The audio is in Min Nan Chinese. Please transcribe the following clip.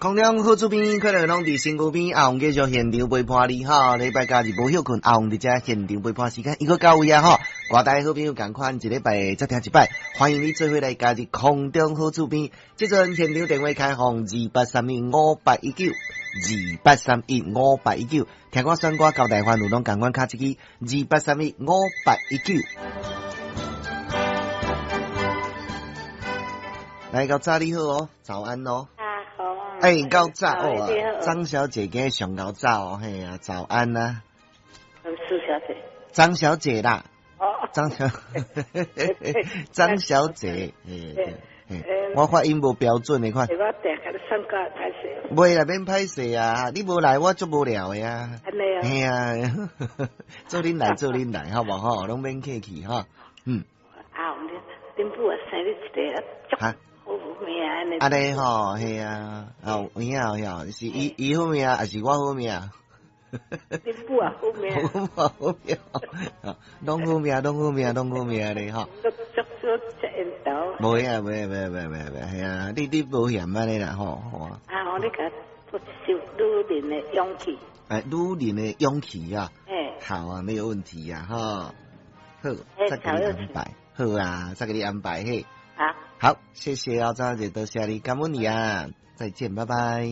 空中好厝邊，快樂攏佇身軀邊。阿紅繼續現場陪伴你吼，禮拜假日無歇睏，阿紅佇遮現場陪伴時間，伊閣到位啊吼。我大好朋友仝款，一禮拜才聽一擺，歡迎你做伙來加入空中好厝邊。這陣現場電話開放28315819，28315819。聽歌選歌交代煩惱攏仝款敲這支28315819。來，夠早你好哦，早安哦。欸，夠早哦，張小姐今日上夠早哦，嘿啊，早安啊。蘇小姐。張小姐啦。哦。張小，張小姐，嘿，我發音無標準的款。我定共你選歌歹勢。袂啦，免歹勢啊，你無來我足無聊的啊。按呢哦。嘿啊，做恁來做恁來，好無吼？攏免客氣哈，嗯。啊，恁母啊生你一个足好命按呢。按呢吼，嘿啊，哦，有影有影，是伊伊好命，抑是我好命？恁母也好命。我母好命，攏好命，攏好命，攏好命咧吼。足足足食緣投。無啊，無無無無無，嘿啊，你你無嫌按呢啦吼。啊，我你共播一首女人的勇氣。欸，女人的勇氣啊。欸。好啊，沒有問題啊，吼。好，再共你安排。好啊，再共你安排嘿。好。好，謝謝啊，張小姐，多謝你，感恩你啊，再見，拜拜。